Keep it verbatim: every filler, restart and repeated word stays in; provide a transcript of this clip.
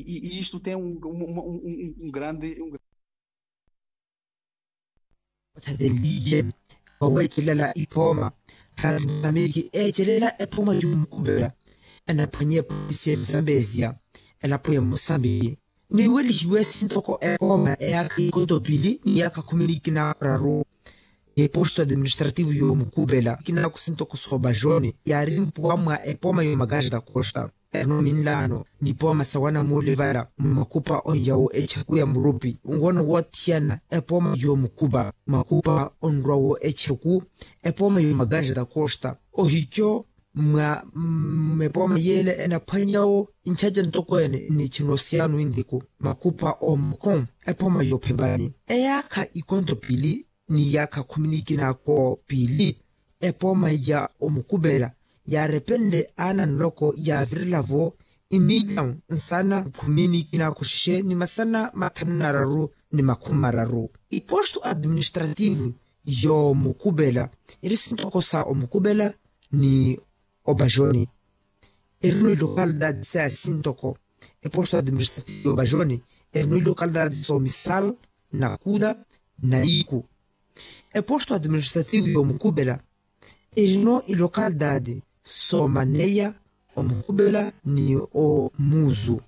E isto tem um grande. Othateleliye oweecelela iphooma. Ratimiki eecelela ephooma y'omukupela enaphwanya epolisi ya musambezia, elapo ya musambiki. Niwelihiwe sintoko ephooma eyaakha ikontopili ni yaakha khumi ni kinaararu. Ni posto administrativo y'omukupela kinaku sintoko soobajoni yaari mpuwa mwa ephooma y'omakanjata costa. Erino minlaano ni pooma sawana mulivala mmakhupa onyawo echeku ya murupi nwono wothiyana epooma yomukupa makhupa onrwawo echeku. Epooma yomakanjata costa ohicho mwa mmepooma yeele enaphwanyawo nchacha ntoko ene nnichina osiyano intiku makhupa omoko. Epooma yophepani eyaakha ikonto pili ni yaakha khumi ni kinaako piili. Epooma ya omukupela yaarepenle aana nloko yaavirela-vo imilyawu nsana khumi ni kinaako xexe ni masana mathanu na araru ni makhumi mararu. Iposto administrativo y'omukupela iri sintoko sa omukupela ni opajoni. Erino ilocalidade saya sintoko eposto administrativo y'opajoni erino ilocalidade soomisal na kuda na iku. Eposto administrativo y'omukupela erino ilocalidade soomaneya omukupela ni omuzu.